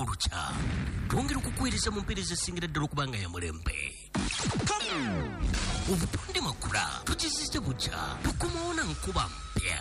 Olukya twongera okukuweereza mu mpeereza esingira ddala okuba nga ya mulembe. Obutonde Makula tukizizze bukya, tukomawo na nkuba mpya.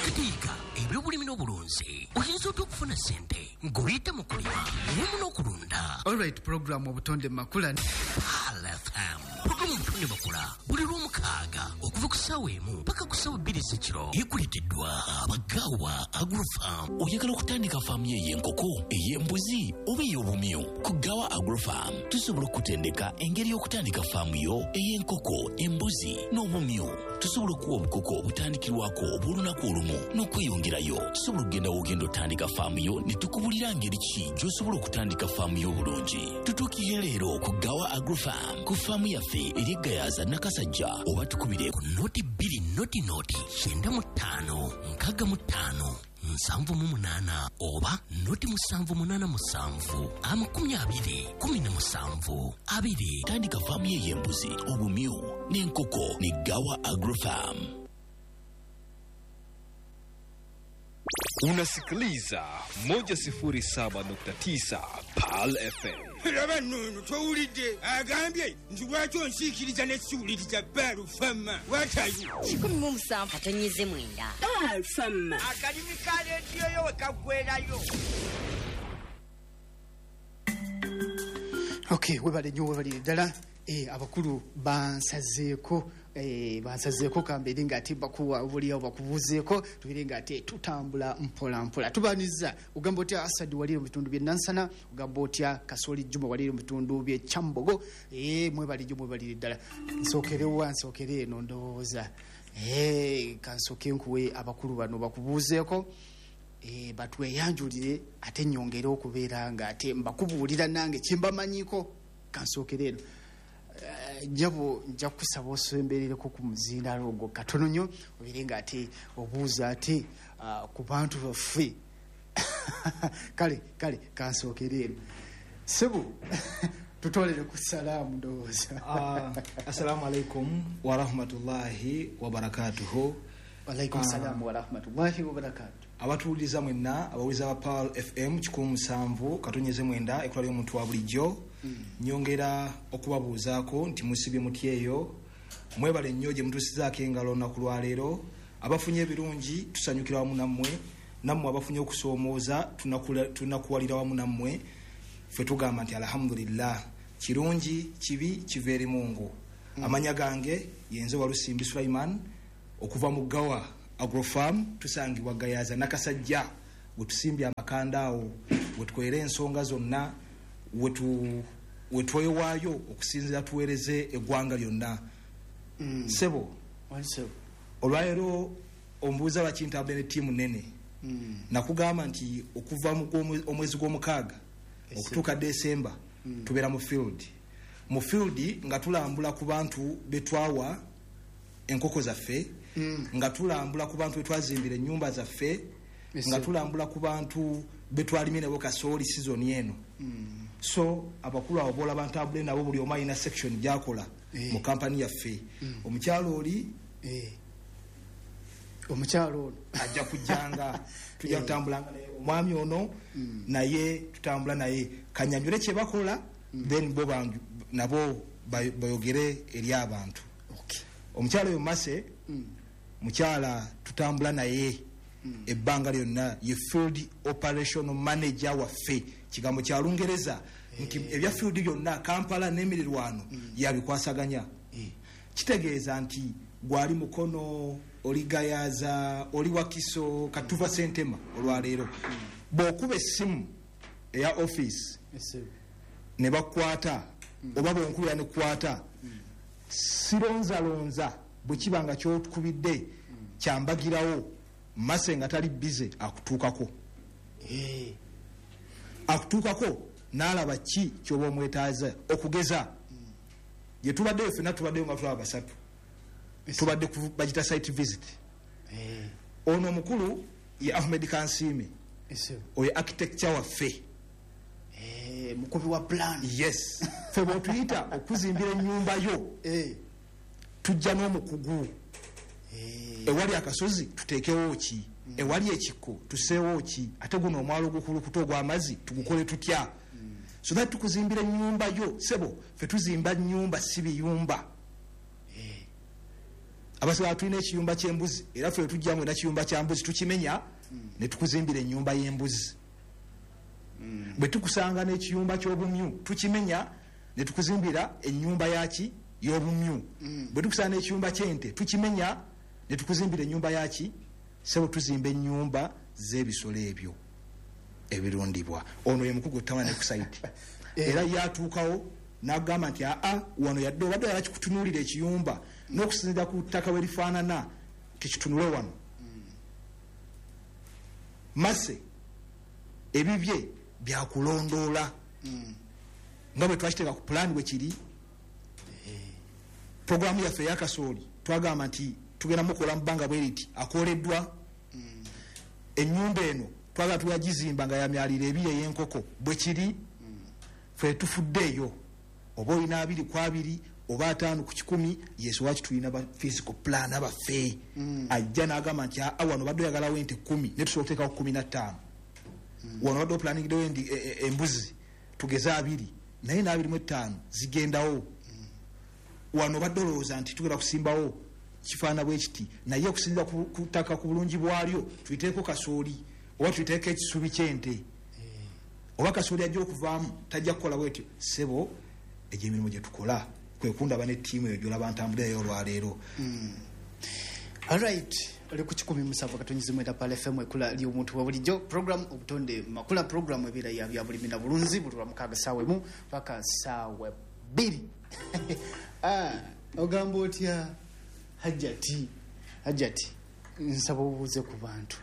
Katiika ebyobulimi n'obulunzi, oyinza otya okufuna ssente ng'oyita mu kulima wamu n'okulunda? Alright, program Obutonde Makula. Pearl FM. Programu Obutonde Makula buli Lwomukaaga okuva ku ssaawa 1 paka ku ssaawa 2 ez'ekiro, ekuleeteddwa Abagawa Agrofarm. Oyagala okutandika faamu yo ey'enkoko, ey'embuzi oba ey'obumyu? Ku Gawa Agrofarm tusobola okukutendeka engeri y'okutandika faamu yo ey'enkoko, embuzi n'obumyu. Tusobola okuwa obukoko obutandikirwako obw'olunaku olumu n'okweyongerayo. Tusobola okugenda w'ogenda otandika faamu yo ne tukubulira ngeri ki gy'osobola okutandika faamu yo obulungi. Tutuukirire leero ku Gawa Agrofarm ku faamu yaffe eri Gayaza Nakasajja, oba tukubire ku 0 2 0 0 95 65 78 oba 0 7 8 7 20 17 2. Tandika faamu ye ey'embuzi, obumyu n'enkoko ne Gawa Agrofarm. Unasikiliza 107.9 Pearl FM. Laba nnono, towulidde agambye nti lwaki onsiikiriza nesiwuliriza Baalufama watayo? 17.9 Baalufama. Akalimi ka rediyo yo we kaggwerayo. Okay, webale nnyo, webalire ddala. Abakulu bansazeeko, bansazeeko kambeere nga ate bakuwa obuliawo bakubuuzeeko, tubeere nga ate tutambula mpola mpola. Tubaniriza. Ogamba otya Asadi walire mu bitundu by'e Nansana? Ogamba otya Kasoli Juma walire mu bitundu by'e Kyambogo? Mwebale nnyo, mwebalire ddala. Nsookerewa? Nsookere eno ndowooza. Kansooke nkuwe abakulu bano bakubuuzeeko, batweyanjulire, ate nyongere okubeera nga ate mbakubuulira nange kyembamanyiiko. Kansookere eno. Njabo, nja kusaba osemberereko ku muzindaalo ogwo katono nnyo, obeere nga ate obuuza ate ku bantu baffe. Kale kansookere eno. Sebo, tutwalire ku salaamu ndowooza. Assalamu alaikum warahmatullahi wabarakatuhu. Walaikum salaamu warahmatullahi wabarakatu. Abatuwuliriza mwenna, abawuliza ba Pearl FM 107.9, ekula ly'omuntu wa bulijjo, nyongera okubabuuzaako nti musibye mutyeyo? Mwebale nnyo gye mutuusizaako engalo olunaku lwaleero. Abafunye ebirungi tusanyukira wamu nammwe, nammwe abafunye okusoomooza tunakuwalira wamu nammwe. Ffe tugamba nti alhamdulillah, kirungi kibi kiva eri Mungu. Amanya gange yenze Walusimbi Sulaiman okuva mu Gawa Agrofarm. Tusangibwa Gayaza Nakasajja, wetusimbye amakanda awo, wetwera ensonga zonna, wetwewaayo okusinziira tuweereze eggwanga lyonna. Sebo, olwaleero ombuuza lwaki ntambule ne ttiimu nene. Nakugamba nti okuva mu omwezi gw'omukaaga okutuuka Desemba tubeera mu field, mu field nga tulambula ku bantu betwawa enkoko zaffe, nga tulambula ku bantu betwazimbira ennyumba zaffe, nga tulambula ku bantu betwalimye nabo kasooli season eno. So abakulu abo bolaba ntambule nabo, buli omu alina section gyakola mu kampani yaffe. Omukyalo oli Omukyalo ono ajja kujjanga, tujja kutambulanga naye. Omwami ono naye tutambula naye. Kanyanjule kye bakola, then bo nabo bayogere eri abantu. Omukyalo oyo Mase, mukyala tutambula naye ebbanga lyonna, ye field operational manager waffe. Kigambo kya Lungereza nti ebya field byonna Kampala n'emirirwano yabikwasaganya. Kitegeeza nti gwali Mukono, oli Gayaza, oli Wakiso, katuva Sentema olwaleero, bw'okuba essimu eya office ne bakwata, oba bwonkubira nekwata, sironzalonza. Bwe kiba nga kyokubidde kyambagirawo, Mase nga tali bize akutuukako, akutuukako n'alaba ki kyoba omwetaaza. Okugeza gye tubaddeyo ffenna, tubaddeyo nga tulaba basatu, tubadde bagita site visit. Ono omukulu ye Ahmed Kansiime, oyo architecture waffe. Mukubi wa plan. Yes, fe bwotuyita okuzimbira ennyumba yo, tujja n'omukugu, ewali akasozi tuteekewo ki. Ewali ekikko tuseewo ki? Ate guno omwalo ogukulukuta ogw'amazzi tugukole tutya? So that tukuzimbira ennyumba yo, sebo. Ffe tuzimba nnyumba, si biyumba. Abasigala tulina ekiyumba ky'embuzi, era ffe tujjamu era kiyumba kya mbuzi tukimenya ne tukuzimbira ennyumba y'embuzi. Bwe tukusanga n'ekiyumba ky'obumyu, tukimenya ne tukuzimbira ennyumba yaki y'obumyu. Bwe tukusanga n'ekiyumba ky'ente, tukimenya ne tukuzimbira ennyumba yaki. Sebo, tuzimba ennyumba z'ebisolo ebyo ebirundibwa. Ono ye mukugu tamala ne ku site, era yatuukawo n'agamba nti aa, wano yadde obadde oyagala kikutunuulira ekiyumba n'okusinziira ku ttaka we lifaanana, tekitunule wano. Mase ebibye byakulondoola nga bwe twakiteeka ku pulaani bwe kiri. Puroguramu yaffe eyakasooli twagamba nti tugenda mukola mu bbanga bwe riti, akoleddwa. Ennyumba eno twagala tuyagizimba nga yamyaliro ebiri ey'enkoko, bwe kiri. Ffe tufuddeeyo oba olina 20 ku 20 oba 50 ku 100. Yesu, waki tulina ba physical plan baffe. Ajja n'agamba nti aa, wano badde oyagalawo ente 10, naye tusobola okuteekawo 15. Wano badde oplaningiddewo embuzi tugeze 20, naye n'25 zigendawo. Wano badde olowooza nti tugenda kusimbawo kifaana bwe kiti, naye okusinziira ku ttaka, ku bulungi bwalyo, tuyiteeko kasooli oba tuyiteeko ekisubi ky'ente oba kasooli ajja okuvaamu tajja kukola bwetyo. Sebo, egyo emirimu gye tukola kwe kundaba ne ttiimu eyo gyolaba ntambulirayo olwaleero. Alright, oli ku 107.9 Pal FM, ekula ly'omuntu wa bulijjo, program Obutonde Makula, program ebeera ya bya bulimi na bulunzi, buli lwa mukaaga saawa 1 paka saawa 2. Ah, ogamba otya Hajjati? Hajjati, nsaba obuuze ku bantu.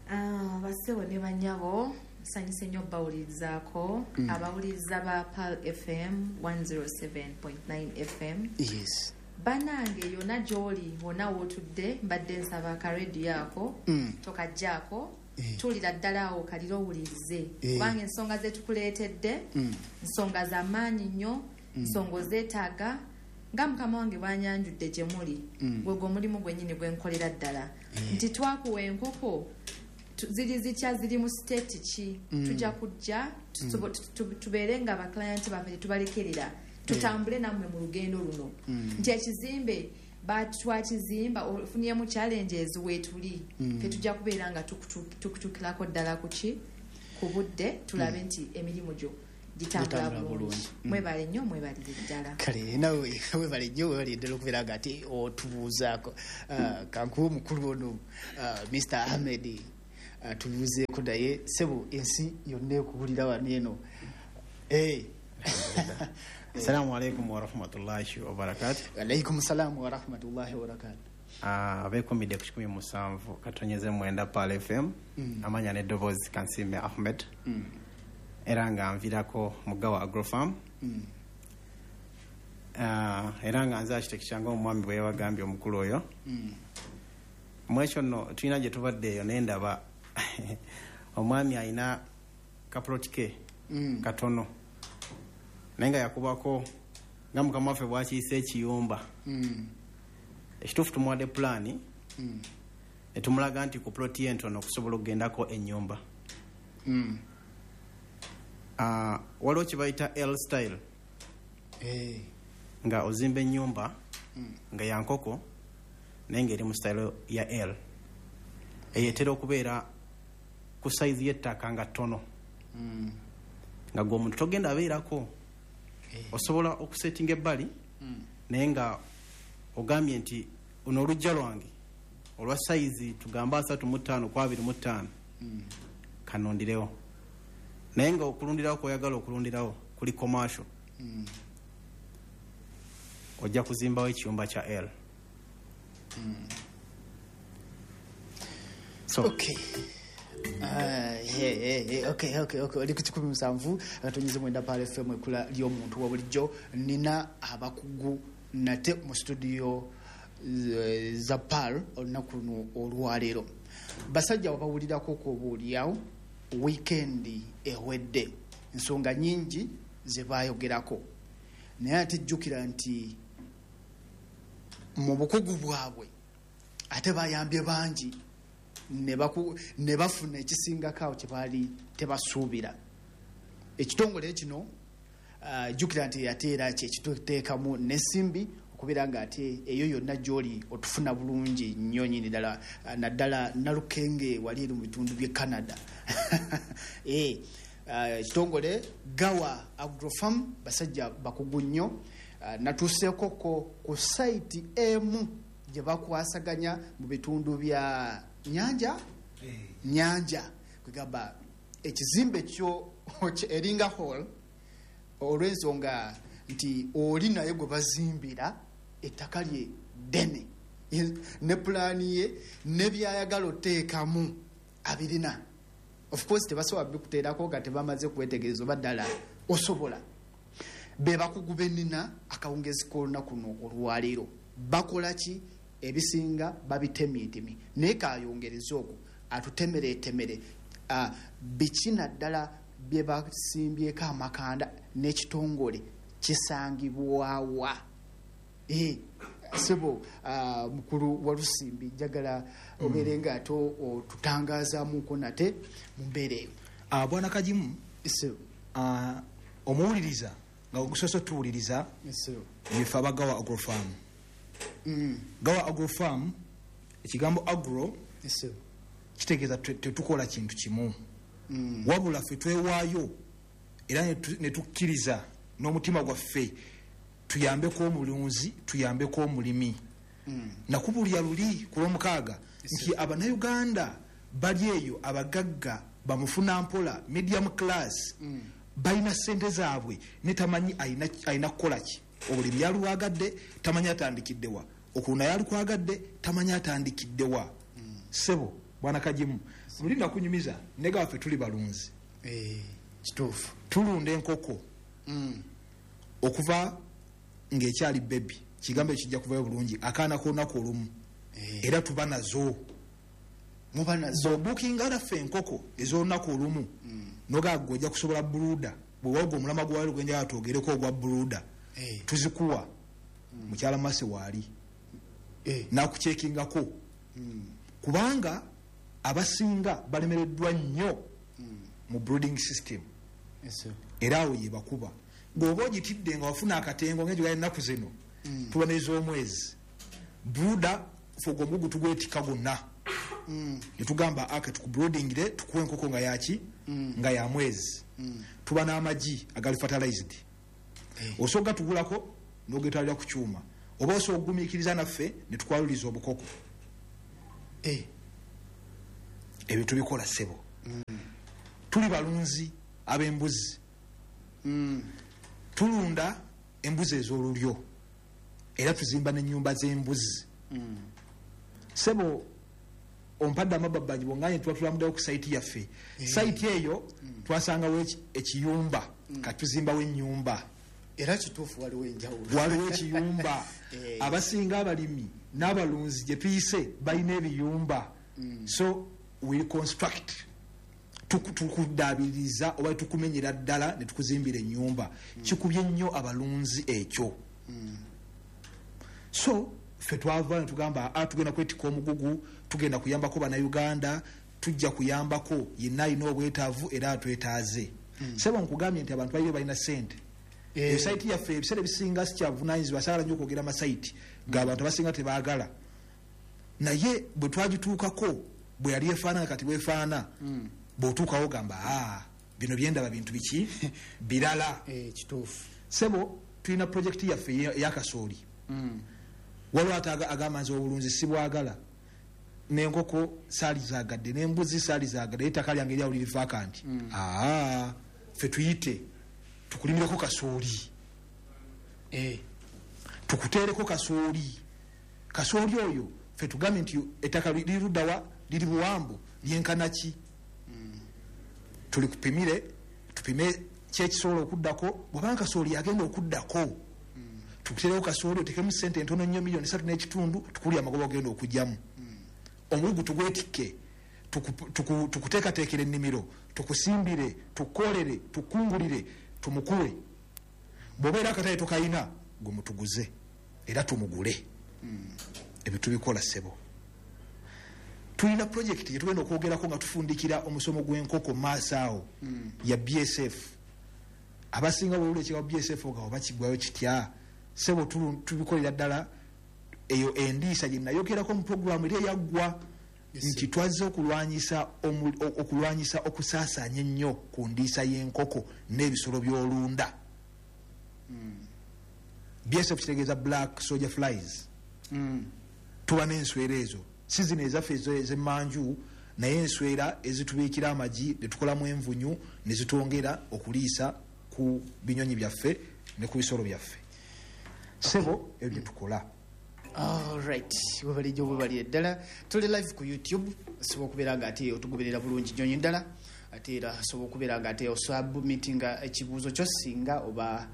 Ah, bassebo ne banyabo, nsanyuse nnyo bawulirizaako, abawuliriza ba Pal FM 107.9 FM. Banange, yonna gy'oli, wonna wootudde, mbadde nsaba akarediyo ako tokajjaako. Tuulira ddala awo kalira owulirize, kubanga ensonga zetukuleetedde nsonga za maanyi nnyo, nsonga ozeetaaga. Nga mukama wange bwanyanjudde gye muli, gwegwe omulimu gwennyini gwenkolera ddala, nti twakuwa enkoko ziri zitya, ziri mu state ki? Tujja kujja tubeere nga baclient baffe tetubalekerera, tutambule nammwe mu lugendo luno, nti ekizimbe twakizimba, ofunyemu challenges, weetuli fe tujja kubeera nga tukutuukirako ddala kuki ku budde, tulabe nti emirimu gyo gitambula Gitambula bulungi. Bulungi. Mwebale nnyo, mwebalire ddala. Kale nawe webale nnyo, webale ddala okubeera nga ate otubuuzaako. Ah, kankuwa omukulu ono, Mr Ahmed, tubuuzeeko naye. Sebo, ensi yonna ekuwulira wano eno. Eh. Assalamu alaikum warahmatullahi wabarakatu. Alaikum salaamu warahmatullahi wabarakatu. Abekumidde ku 107.9 Pal FM, amanya n'eddoboozi Kansime Ahmed, era nga nvirako Mugawa Agrofarm. Era nga nze architect nga omwami bwe yabagambye omukulu oyo. Mwekyo nno tulina gye tubadde eyo naye ndaba omwami alina kaplot ke katono, naye nga yakubako nga mukama waffe bwakiyise ekiyumba. Ekituufu, tumuwadde pulaani ne tumulaga nti ku ploti ye entono okusobola okugendako ennyumba. Waliwo kye bayita L style, nga ozimba ennyumba nga ya nkoko naye ng'eri mu style ya L. Eyo etera okubeera ku sayizi y'ettaka nga ttono, nga gwe omuntu togenda abeerako, osobola okusetinga ebbali, naye nga ogambye nti ono olujja lwange olwa sayizi tugambe 35 ku 25, kanundirewo, naye nga okulundirawo kwoyagala okulundirawo kuli commercial, ojja kuzimbawo ekiyumba kya L. So Okay. Ah, yeah, okay. Oli ku 107.9 Pal FM, ekula ly'omuntu wa bulijjo. Nina abakugu nate mu studio za Pal olunaku luno olwaleero. Basajja wabawulirako kuobaoliawo wiikendi ewedde, ensonga nyingi ze bayogerako, naye ate jjukira nti mu bukugu bwabwe Ate bayambye bangi ne bafuna ekisingako awo kye baali tebasuubira. Ekitongole kino, jjukira nti ate era kyekituteekamu n'ensimbi okubeera nga ate eyo yonna gy'oli otufuna bulungi nnyo nnyini ddala, naddala Nalukenge wali eri mu bitundu by'e Canada. Ekitongole Gawa Agrofarm basajja bakugu nnyo. Natuuseekoko ku site emu gye bakwasaganya mu bitundu bya Nyanja, kwegamba ekizimbe kyo eringa hall, olw'ensonga nti oli naye gwe bazimbira ettaka lye ddene ne pulaani ye ne byayagala oteekamu abirina. Of course tebasobola bikuteerako nga tebamaze kwetegereza oba ddala osobola. Be bakugu bennina akawungezi k'olunaku luno olwaleero. Bakola ki? Ebisinga babitemyetemi, naye kayongereza okwo atutemeretemere biki naddala bye basimbyeko amakanda n'ekitongole kisangibwawa. Sebo mukulu wa Lusimbi, njagala obeere nga ate otutangazaamuko nate mu mbeera eyo. Bwana Kagimu, omuwuliriza nga ogusoose otuwuliriza, yefe aba Gawa Agrofarm. Gawa Agrofarm, ekigambo agro kitegeeza tetukola kintu kimu, wabula ffe twewaayo era ne tukkiriza n'omutima gwaffe tuyambeko omulunzi, tuyambeko omulimi. Nakubulya luli ku Lwomukaaga nti Abannayuganda bali eyo abagagga bamufuna mpola, medium class, balina ssente zaabwe ne tamanyi alina kukola ki. Obulimi yalwagadde, tamanyi atandikiddewa. Okulunda yalukwagadde, tamanyi atandikiddewa. Ssebo Bwana Kagimu, luli nakunyumiza ne gaffe tuli balunzi. Kituufu. Tulunda enkoko okuva ng'ekyali bebi, kigambo ekijja kuvayo bulungi, akaana k'olunaku olumu, era tuba nazo. Muba nazo. Bw'obuukinga naffe enkoko ez'olunaku olumu, nogaago ojja kusobola brooder, bwe wagwa omulama gwali gwenjagala twogereko ogwa brooder, tuzikuwa. Mukyala Mase waali nakukyekingako, kubanga abasinga balemereddwa nnyo mu brooding system. Era awo ye bakuba bw'oba ogitidde nga wafuna akatengo ng'egyo ennaku zino tuba n'ez'omwezi. Brooder fe ogwo omugugu tugwetikka gwonna, ne tugamba ake tukubroodingire, tukuwa enkoko nga yaki, nga ya mwezi. Tuba n'amagi agali fertilized, osobola gatugulako n'ogetwalira ku kyuma, oba osobola okugumiikiriza naffe ne tukwaluliza obukoko. Ebyo tubikola, ssebo. Tuli balunzi ab'embuzi, tulunda embuzi ez'olulyo era tuzimba n'ennyumba z'embuzi. Ssebo, ompadde amababbanyi bwonganye tuba tulamuddewo ku site yaffe. Site eyo twasangawo ekiyumba, kati tuzimbawo ennyumba. Era kituufu, waliwo enjawulo. Waliwo ekiyumba. Abasinga abalimi n'abalunzi gye tuyise balina ebiyumba, so we construct, tukudaabiriza oba tukumenyera ddala ne tukuzimbira ennyumba. Kikubye nnyo abalunzi ekyo. So ffe twava ne tugamba a tugenda kwetikka omugugu, tugenda kuyambako Bannayuganda, tujja kuyambako yenna alina obwetaavu era atwetaaze. Sebo, nkugambye nti abantu baliyo balina sente. Esite yaffe ebiseera ebisinga sikyavunanyizibwa, saagala nnyo okwogera amasite g'abantu, abasinga tebaagala, naye bwe twagituukako bwe yali efaanana kati bwefaana, bw'otuukawo gamba, aa, bino byendaba bintu biki birala. Kituufu. Sebo, tulina projekiti yaffe eyakasooli. Waliwo ate agamba nze obulunzi sibwagala, n'enkoko saali zaagadde, n'embuzi saali zaagadde, ettaka lyange eryawo liri vacant. Aa, ffe tuyite tukulimireko kasooli, tukuteereko kasooli. Kasooli oyo ffe tugambye nti ettaka liri luddawa, liri buwambu, lyenkana ki, tulikupimire, tupime kyekisobola okuddako. Bwabanga kasooli agenda okuddako, tukuteereko kasooli, otekemu sente entono nnyo, 3.5 miliyoni, tukulya amagoba ogenda okugyamu. Omugugu tugwetikke, tukuteekateekere ennimiro, tukusimbire, tukolere, tukungulire, tumukuwe. Bw'obeera akatale tokayina, gwe mutuguze era tumugule. Ebyo tubikola, ssebo. Tulina project gyetugenda okwogerako nga tufundikira omusomo gw'enkoko maaso awo ya BSF. Abasinga bwewula ekigambo BSF nga oba kigwayo kitya, sebo tubikolera ddala. Eyo endiisa gye nayogerako mu puroguramu eri eyaggwa nti twazze okulwanyisa okusaasaanya ennyo ku ndiisa y'enkoko n'ebisolo by'olunda. BSF kitegeeza black soldier flies. Tuba n'enswera ezo, si zino ezaffe ez'emmanju, naye enswera ezitubiikira amagi ne tukolamu envunyu ne zitwongera okuliisa ku binyonyi byaffe ne ku bisolo byaffe. Sebo, ebyo bye tukola. Alright, webalijjo bwebalire ddala. Tuli live ku YouTube, osobola okubeera nga ate otugoberera bulungi nnyonyi ddala. Ate era osobola okubeera nga ate osubmitinga ekibuuzo kyo singa oba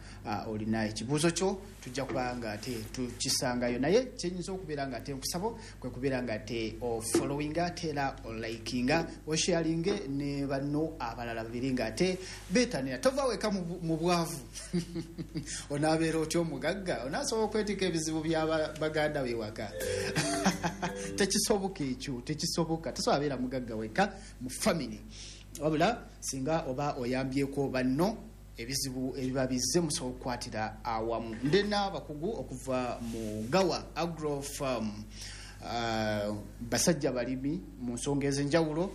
olina ekibuuzo kyo, tujja kuba nga ate tukisangayo. Naye kyenyinza okubeera nga ate nkusaba kwe kubeera nga ate ofollowinga, ate era olikinga, osharinge ne banno abalala babiri nga ate beetanira. Tova weka mu bwavu, onaabeera otya omugagga? Onaasobola okwetika ebizibu bya baganda bewaka? Tekisoboka ekyo, tekisoboka. Tosobola beera mugagga weka mu family, wabula singa oba oyambyeko banno, ebizibu ebiba bizze musobola okukwatira awamu. Ndina abakugu okuva mu Gawa Agro Farm, basajja balimi mu nsonga ez'enjawulo.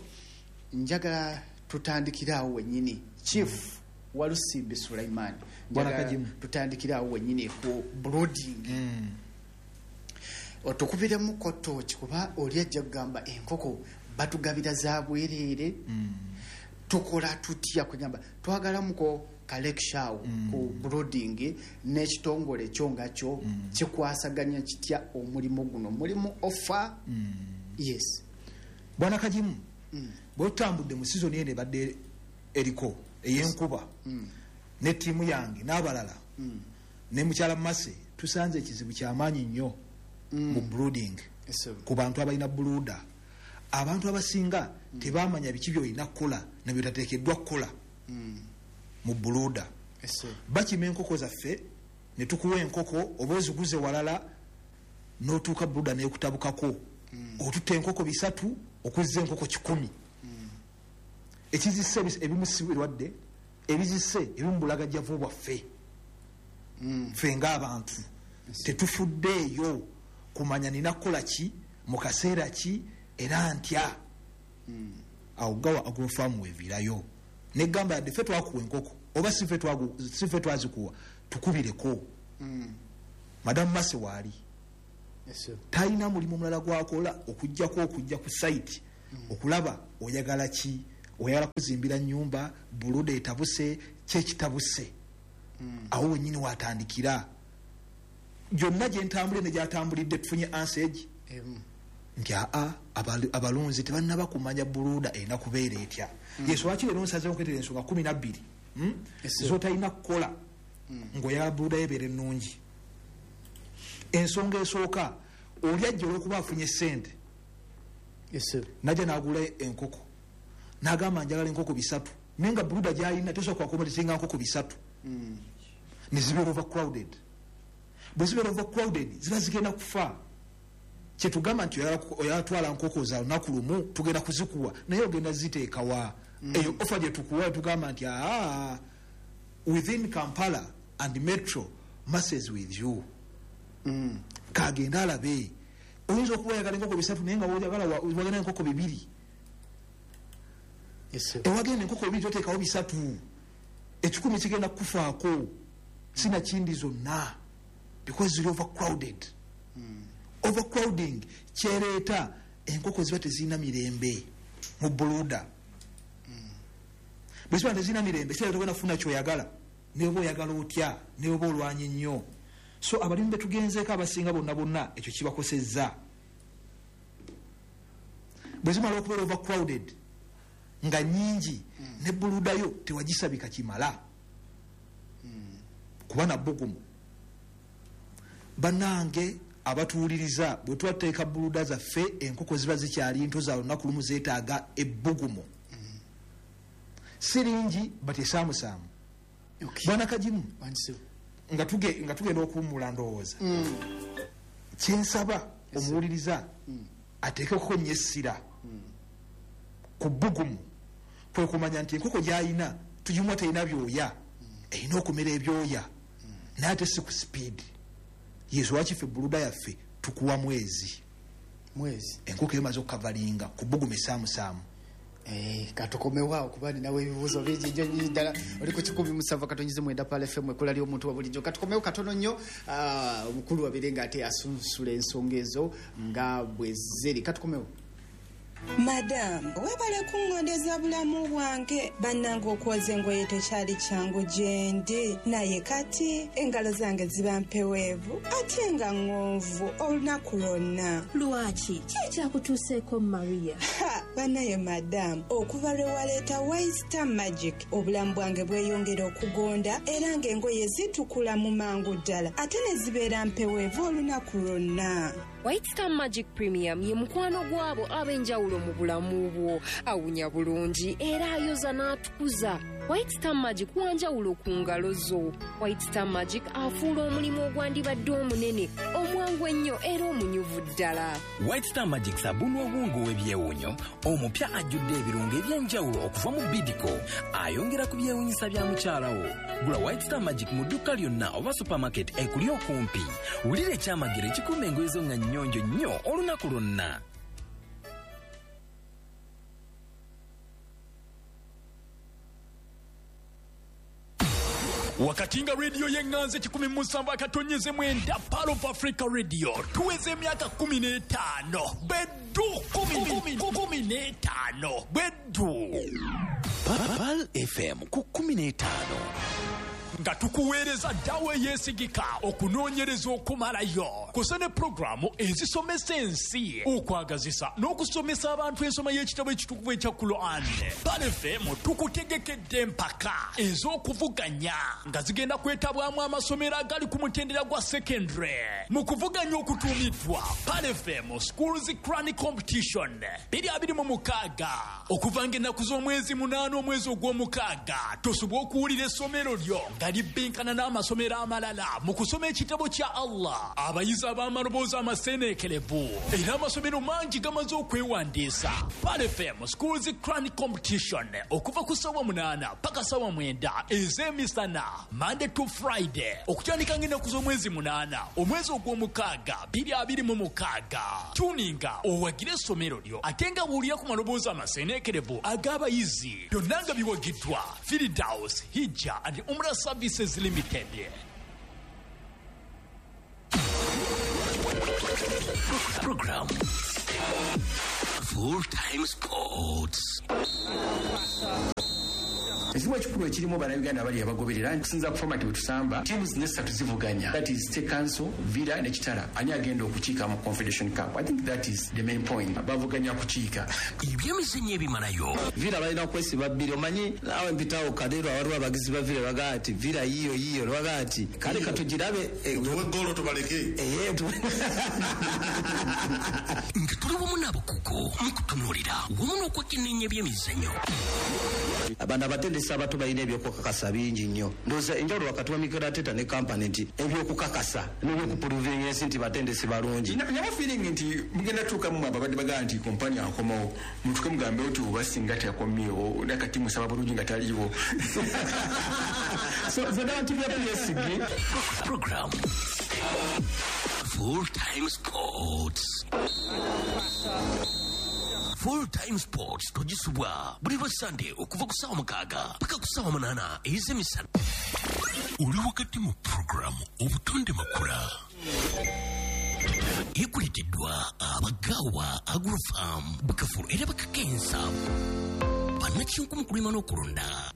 Njagala tutandikire awo wennyini, Chief Walusimbi Sulaiman. Bwana Njagala Kajimu. tutandikire awo wennyini ku brooding, otukubiremu kotoki, kuba oli ajja kugamba enkoko batugabira za bwereere, tukola tutya? Kwegamba twagalamuko kalekishawo ku brooding n'ekitongole kyo nga kyo kikwasaganya kitya omulimu guno, mulimu offer? Yes. Bwana Kajimu, bwe tutambudde mu sizoni eno ebadde eriko ey'enkuba ne ttiimu yange n'abalala ne mukyala Mase, tusanze ekizibu kyamaanyi nnyo mu brooding ku bantu abalina brooder. Abantu abasinga tebamanya biki byolina kukola nebyotateekeddwa kukola mu brooder. Bakima enkoko zaffe ne tukuwa enkoko oba oziguze walala, n'otuuka brooder nekutabukako, otutta enkoko 300 okuzza enkoko 100. Ekizisse ebimu si birwadde, ebizisse ebimu bulagajjavu bwaffe ffe ng'abantu. Tetufuddeeyo kumanya nina kukola ki mu kaseera ki era ntya. Awo Gawa Agrofarm weviirayo negamba, yadde ffe twakuwa enkoko oba si ffe twazikuwa, tukubireko. Madamu Mase waali talina mulimu mulala gwakola okugjako okujja ku site okulaba oyagala ki, oyagala kuzimbira nyumba, brooder etabuse, kyekitabuse. Awo wenyini watandikira. Gyonna gyentambulire ne gyatambulidde, tufunye ansage nti aa, abalunzi tebannaba kumanya brooder erina kubeera etya. Yesu lwaki leero nsazeewo nkwetera ensonga 12 zotalina kukola ng'oyagala brooder yebeera ennungi. Ensonga esooka, oli ajja olwokuba afunye sente, najja n'agula enkoko n'agamba njagala enkoko 300, naye nga brooder gyalina tesobola kwakomotesinga nkoko 300, ne zibeera overcrowded. Bwe zibeera overcrowded ziba zigenda kufa. Kyetugamba nti oyagala twala nkoko za lunaku lumu, tugenda kuzikuwa, naye ogenda ziteekawa? Eyo offer gye tukuwa, tugamba nti aa, within Kampala and metro, masses with you, kagenda alabe. Oyinza okuba oyagala enkoko 300, naye nga oyagala wagenda enkoko 2. Ewagenda enkoko 2 toteekawo 300, 1,000 kigenda kukufaako sinakindi zonna, because ziri overcrowded. Overcrowding kyereeta enkoko ziba tezirina mirembe mu brooder. Bwe ziba tezirina mirembe, kirabika togenda kufuna kyoyagala, ne bw'oba oyagala otya, ne bw'oba olwanye nnyo. So abalimi betugenzeeko abasinga bonna bonna ekyo kibakosezza. Bwe zimala okubeera overcrowded nga nnyingi, ne brooder yo tewagisabika kimala kuba na bbugumu. Bannange abatuwuliriza, bwe tubateeka brooder zaffe, enkoko ziba zikyali nto za lunaku lumu, zeetaaga ebbugumu, si lingi but esaamusaamu. Bwana Kajimu, nga tugenda okuwummula, ndowooza kyensaba omuwuliriza ateekeko nnyo essira. Ku bbugumu kwe kumanya nti enkoko gy'alina tugimuwa terina byoya, erina okumera ebyoya, naye ate si ku sipiidi. Yesu lwaki ffe brooder yaffe tukuwa mwezi. Mwezi. Enkoko emaze okukavalinga ku bbugumu esaamusaamu. Katukomewo kuba ninawo ebibuuzo bingi nnyo nnyo ddala. Oli ku 107.9 Pearl FM, ekkula ly'omuntu wa bulijjo. Katukomewo katono nnyo, omukulu abeere ng'ate asunsula ensonga ezo nga bwe ziri. Katukomewo. Madamu, webale kuŋŋondeza bulamu bwange. Bannange okwoza engoye tekyali kyangu gye ndi, naye kati engalo zange ziba mpeweevu ate nga ŋŋonvu olunaku lwonna. Lwaki? Ki ekyakutuuseeko, Maria? Ha, bannaye madamu, okuva lwe waleeta White Star Magic, obulamu bwange bweyongera okugonda era ng'engoye zitukula mu mangu ddala ate ne zibeera mpeweevu olunaku lwonna. White Star Magic Premium ye mukwano gw'abo ab'enjawulo mu bulamu bwo. Awunya bulungi era ayoza n'atukuza. White Star Magic wanjawulo ku ngalo zo. White Star Magic afuula omulimu ogwandibadde omunene omwangu ennyo era omunyuvu ddala. White Star Magic sabuni ow'obwongo ow'ebyewuunyo omupya ajjudde ebirungo eby'enjawulo okuva mu Bidco, ayongera ku byewuunyisa bya mukyala wo. Gula White Star Magic mu dduuka lyonna oba supermarket ekuli okumpi. Wulira ekyamagero ekikuuma engoye zo nga nnyonjo nnyo olunaku lwonna. Wakati nga rediyo y'eŋŋanzi 107.9 Pearl of Africa Radio tuweza emyaka 15 beddu, 15 beddu. Pearl FM ku 15. Nga tukuweereza ddawo eyeesigika, okunoonyereza okumalayo kusa ne pulogulaamu ezisomesa ensi, okwagazisa n'okusomesa abantu ensoma y'ekitabo ekitukuvu ekya Quran. Pearl FM tukutegekedde empaka ez'okuvuganya nga zigenda kwetabwamu amasomero agali ku mutendera gwa secondary mu kuvuganya okutuumiddwa Pearl FM Schools Quran Competition 2026, okuva ng'ennaku z'omwezi 8 omwezi ogw'omukaaga. Tosobola okuwulira essomero lyo nga libbinkana n'amasomero amalala mu kusoma ekitabo kya Allah. Abayizi ab'amaloboozi amaseeneekerevu era amasomero mangi gamaze okwewandiisa. Pearl FM Schools Quran Competition okuva ku ssaawa 8 paka ssaawa 9 ez'emisana, Monday to Friday, okutandika ng'ennaku z'omwezi 8 omwezi ogw'omukaaga 2026. Tuninga owagire essomero lyo ate nga buulira ku maloboozi amaseeneekerevu ag'abayizi. Byonna nga biwagiddwa Firdaus Hijja and Umrah Services Limited. Program Full Time Sports. Ekizibu ekikulu ekirimu, bannayuganda abali abagoberera kusinza ku format bwe tusamba, teams nesatu zivuganya, that is State Council, Villa ne Kitara. Ani agenda okukiika mu Confederation Cup? I think that is the main point. Bavuganya kukiika. Ebyemizannyo ebimalayo. Villa balina kwesiba bbiri. Omanyi naawe mpitawo Kadeero, awaliwo abagizi ba Villa bagaa nti Villa yiyo yiyo, bagaa nti kale katugirabe. Tuwe golo tubaleke. Nga tuli wamu n'abakugu mu kutunuulira wamu n'okwekenneenya ebyemizannyo. Abana abatendesi abato balina ebyokukakasa bingi nnyo. Ndowooza enjawulo wakati wa Mikel Arteta ne Kompany nti ebyokukakasa n'ebyokuprovinga ensi nti batendesi balungi. Naba feeling nti mugenda tuuka mu ababadde bagaa nti Kompany akomawo, mutuke mugambe nti oba singa teyakomyewo nakati musaba bulungi nga taliiwo. So zonna tubya byesige. Program Full Time Sports. Full Time Sports togisubwa buli lwa Sande okuva ku ssaawa 6 paka ku ssaawa 8 ez'emisana. Oli wakati mu pulogulaamu Obutonde Makula ekuleeteddwa Abagaawa Agrofarm, bakafulu era bakakensa bannakinku mu kulima n'okulunda.